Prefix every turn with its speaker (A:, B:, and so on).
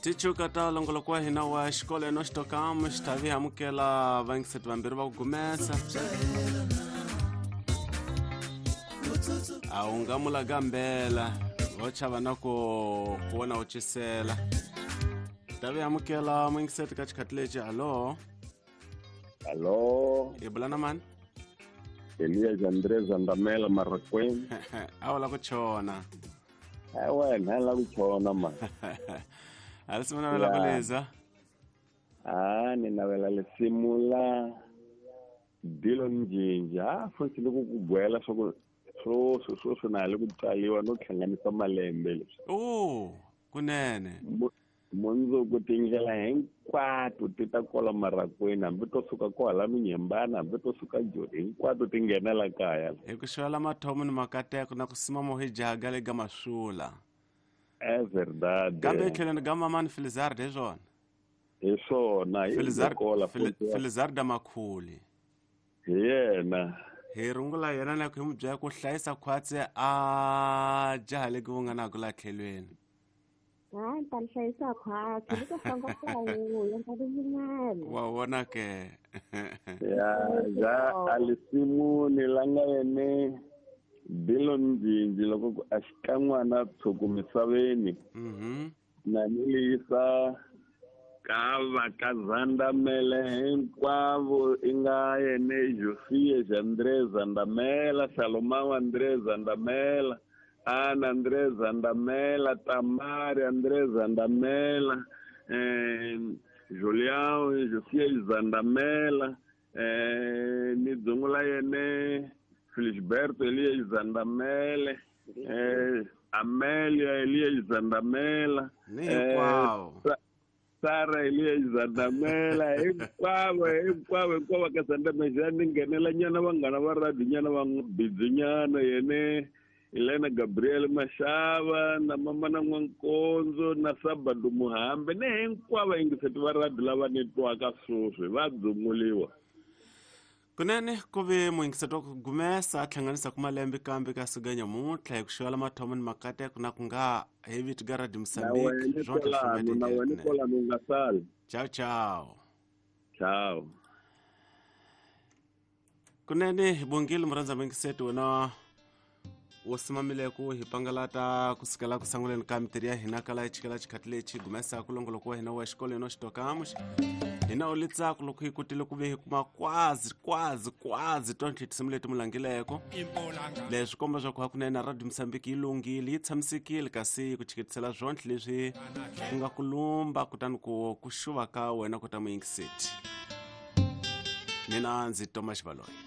A: Tichuka ta longoloko wa hina wa xikolo enoxitokam xi ta vi amukela vayingiseti vambirhi va ku gumesa. A wu nga mulagambela vo chava na ku ku vona u cisela. Ta vi amukela muyingiseti ka xikhathi lexi. Hallo.
B: Hallo.
A: Hi bula na mani?
B: Elias Andres Andamela Marrakweng.
A: A wu la ku chona.
B: Eh wena la ku chona ma.
A: A ri navela ku leza.
B: Ah, ni navela lesimu la Dillon Jinja. Ah, futhi loko ku gwela swa ku swoswo swoswo na le ku tsaliwa no hlanganisa malembe leswi.
A: Oh, kunene.
B: Mundzuku tindlela hinkwato ti ta kola marakweni, hambi to suka kwala Minyembana, hambi to suka Joni, hinkwato ti nghenela kaya.
A: Hi ku xivela mathomo ni makateko na ku sima mohi jaga le ga masula.
B: É verdade.
A: Kambe etlhelweni ga mamani Filizard hi swona.
B: Hi swona, hi kola
A: Filizard Makhuli.
B: Hi yena.
A: Hi rungula yena na ku hi n'wi byela ku hlayisa khwatsi a jaha le ku nga na ku la tlhelweni.
C: Ha, ni ta ni hlayisa khwatsi, ni ta famba ka wuya, ni ta vi yimela.
A: Wa vona ke.
B: Ya, ja alisimuni la nga yene Dillon Jinji loko ku a xikan'wana tshuku misaveni. Na ni liyisa ka va ka Zandamele hinkwavo i nga yene Josia André Zandamela, Salomão André Zandamela, Ana André Zandamela, Tamari André Zandamela, Julião Josia Zandamela, ni dzungula yene Felisberto Elias Zandamele, Amelia Elias Zandamela,
A: ni hinkwavo.
B: Sara Elias Zandamela, hinkwavo hinkwavo hinkwavo ka Zandamela. Ni nghenela nyana vanghana va radio nyana va bidzi nyana yene Elena Gabriel Mashava na mama na N'wankonzo na Sabado Muhambe ni hinkwavo yingiseti va radio lava ni twaka sweswi va dzunguliwa.
A: Kunene ku ve muyingiseti wa ku gumesa a hlanganisa ku malembe kambe ka suka nyamuntlha hi ku xivela mathomo ni makateko na ku nga hi vito ga Radio Mozambique.
B: Na wena kwalano u nga sali.
A: Ciao ciao.
B: Ciao.
A: Kunene hi bongile murhandza muyingiseti wena wo simamile ku hi pangalata kusukela ku sanguleni ka mitirhi ya hina kala chikela xikhathi lexi gumesa ku longoloko wa hina wa xikolweni xitokamuxi hina u litsako loko hi kotile ku ve hi kuma kwazi kwazi kwazi tontlhe tinsimu leti mu langileko. Leswi komba swa ku hakunene Radio Mozambique yi lunghile, yi tshamisekile, kasi ku chiketisela swontlhe leswi ku nga ku lumba kutani ku ku xuva ka wena ku ta muyingiseti. Mina ndzi Thomas Baloyi.